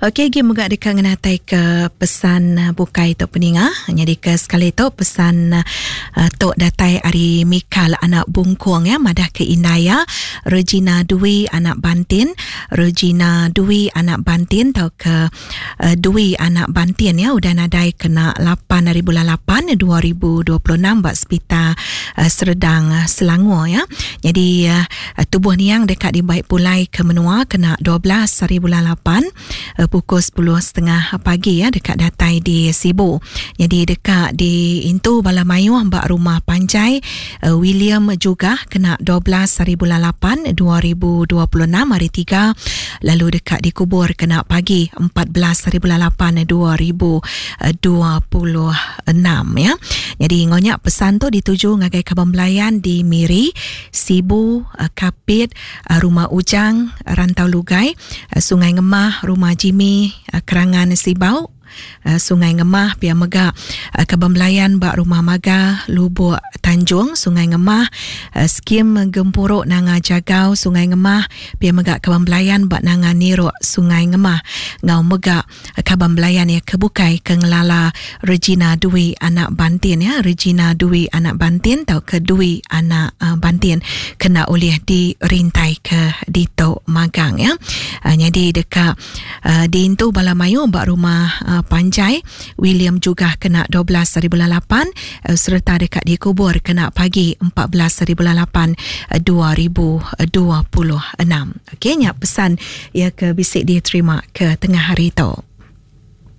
Okey agi mega deka ngenatai ke pesan bukai tu peninga. Nyadi ke sekali tu pesan tu datai ari Mikal anak Bungkung ya madah ke indai iya Regina Dwi anak Bantin, Regina Dwi anak Bantin tauka Dwi anak Bantin ya udah nadai kena lapan ari bulan lapan 2026 ba sepital Serdang Selangor ya. Nyadi Tubuh niang deka dibai pulai ke menua kena 12 hari bulan lapan pukul sepuluh setengah pagi iya deka datai di Sibu. Nyadi deka diintu bala mayuh ba Rumah Panjai William Jugah kena 12 hari bulan lapan 2026 hari tiga lalu deka dikubur kena pagi 14 hari bulan lapan 2026 ya. Nyadi enggau nya pesan tu dituju ngagai kaban belayan di Miri Sibu, Kapit, Rumah Ujang, Rantau Lugai, Sungai Ngemah, Rumah Jimmy, Kerangan Sibau, Sungai Ngemah pia mega Kaban Belayan ba Rumah Maga, Lubok Tanjung, Sungai Ngemah, Skim Gempuru Nanga Jagau, Sungai Ngemah, pia mega Kaban Belayan ba Nanga Nirok, Sungai Ngemah enggau mega Kaban belayan iya ke bukai ke ngelala Regina Dwi anak Bantin ya, Regina Dwi anak Bantin tauka Dwi anak Bantin kena ulih dirintai ke ditu magang ya. Nyadi deka diintu bala mayuh ba rumah panjai William Jugah kena 12 hari bulan 8 sereta deka dikubur kena pagi 14 hari bulan 8 2026. Okey nya pesan iya ke bisi diterima ke tengah hari tu.